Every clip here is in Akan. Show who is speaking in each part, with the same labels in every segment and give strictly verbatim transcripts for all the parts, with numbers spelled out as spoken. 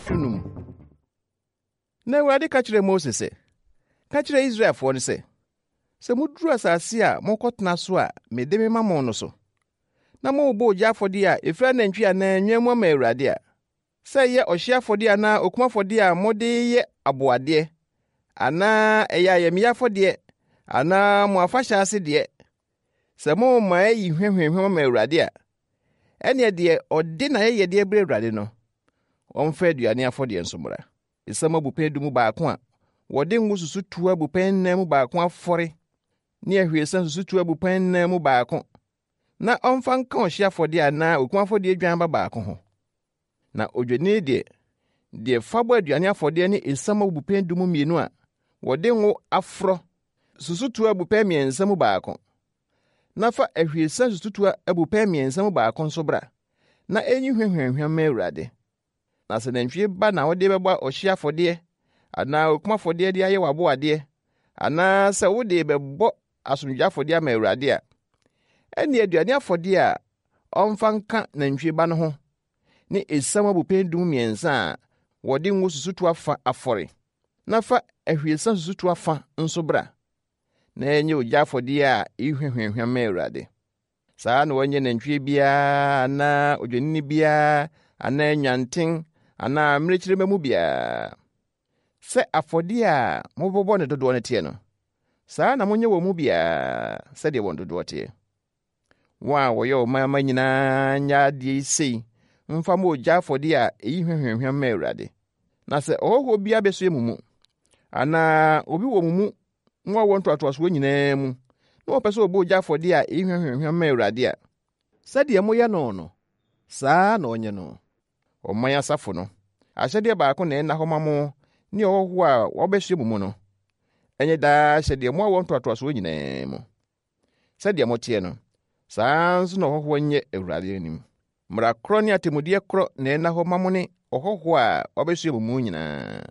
Speaker 1: Dunum. Na Awurade ka kyerɛɛ Mose sɛ, "Ka kyerɛ Israelfoɔ no sɛ, sɛ muduru asase a mokɔtena so a mede mema mo no so, na morebɔ ogya afɔdeɛ a ɛfiri anantwi anaa nnwan mu ama Awurade a, sɛ ɛyɛ ɔhyeɛ afɔdeɛ anaa okum afɔdeɛ a mode reyɛ aboadeɛ, anaa ɛyɛ ayamye afɔdeɛ anaa mo afahyɛ ase deɛ, sɛ morema ayi hwa hwamhwam ama Awurade a, ɛnneɛ deɛ ɔde n'ayɛyɛdeɛ brɛ Awurade no, ɔmfa aduane afɔdeɛ nso mmra. Esiam abupɛn du mu baako a wɔde ngo susutoa abupɛn nnan mu baako afɔre ne ahwiesa susutoa abupɛn nnan mu baako, na ɔmfa nka ɔhyeɛ afɔdeɛ anaa okum afɔdeɛ dwan ba baako ho. Na odwennini deɛ, deɛ fa bɔ aduane afɔdeɛ ne esiam abupɛn du mu mmienu a wɔde ngo aforɔ susutoa abupɛn mmiɛnsa mu baako, na fa ahwiesa susutoa abupɛn mmiɛnsa mu baako nso bra, na enyi hwa hwamhwam mma Awurade. Na sɛ nantwie ba na wode bɛbɔ ɔhyeɛ afɔdeɛ anaa okum afɔdeɛ de ayɛ w'aboadeɛ, anaa sɛ wode bɛbɔ asomdwoe afɔdeɛ ama Awurade a, ɛnne aduane afɔdeɛ a ɔmfa nka nantwie ba no ho ne esiam abupɛn du mmiɛnsa a wɔde ngo susutoa fa afɔre, na fa ahwiesa susutoa fa nso bra, na ɛnyɛ ogya afɔdeɛ a eyi hwa hwamhwam ma Awurade. Saa na wɔnyɛ nantwie biara anaa odwennini biara anaa nwanten anaa mmirekyirima mu biara. Sɛ afɔdeɛ a mobɛbɔ ne dodoɔ no teɛ no, saa na monyɛ wɔn mu biara sɛdeɛ wɔn dodoɔ teɛ. Wɔn a wɔyɛ ɔman mma nyinaa nyɛ adeɛ yi sei mfa mmɔ ogya afɔdeɛ a ɛyi hwa hwamhwam ma Awurade. Na sɛ ɔhɔhoɔ bi abɛsoɛ mo mu, anaa obi wɔ mo mu mo awoɔ ntoatoasoɔ nyinaa mu, na wɔpɛ sɛ ɔbɔ ogya afɔdeɛ a ɛyi hwa hwamhwam ma Awurade a, sɛdeɛ moyɛ no no, saa na ɔnyɛ no. Ɔman asafo no, ahyɛdeɛ baako na ɛnna hɔ ma mo ne ɔhɔhoɔ a wɔbɛsoɛ mo mu no. Ɛnyɛ daa ahyɛdeɛ mo awoɔ ntoatoasoɔ nyinaa mu. Sɛdeɛ moteɛ no, saa nso na ɔhɔhoɔ nyɛ Awurade anim. Mmara korɔ ne atemmudeɛ korɔ na ɛnna hɔ ma mo ne ɔhɔhoɔ a wɔbɛsoɛ mo mu nyinaa.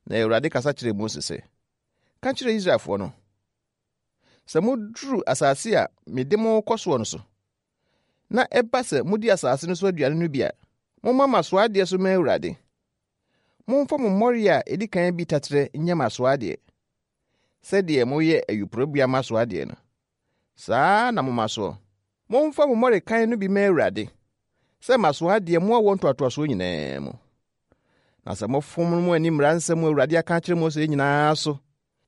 Speaker 1: Na Awurade kasa kyerɛɛ Mose sɛ, "Ka kyerɛ Israelfoɔ no, sɛ moduru asase a mede mo kɔ soɔ no so, na ɛba sɛ modi asase no so aduane no bi a, momma mmasoɔ so mma Awurade. Momfa mo mmɔre a ɛdi kan bi taterɛ nyɛ mmasoɔ adeɛ. Sɛdeɛ moyɛ ayuporobea mmasoɔ adeɛ no, saa na momma soɔ. Momfa mo mmɔre kan no bi mma Awurade sɛ mmasoɔ adeɛ mo awoɔ ntoatoasoɔ nyinaa mu. Na sɛ mofom mo ani mmara nsɛm a Awurade aka akyerɛ Mose nyinaa so,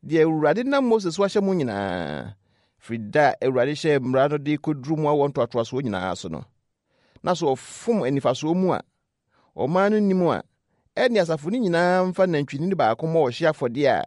Speaker 1: deɛ Awurade nam Mose so ahyɛ mo nyinaa, firi da a Awurade hyɛɛ mmara no de kɔduru mo awoɔ ntoatoasoɔ nyinaa so no, na sɛ ɔfom anifasoɔ mu a ɔman no nim a, ɛne asafo no nyinaa mfa nantwinini baako mmɔ ɔhyeɛ afɔdeɛ a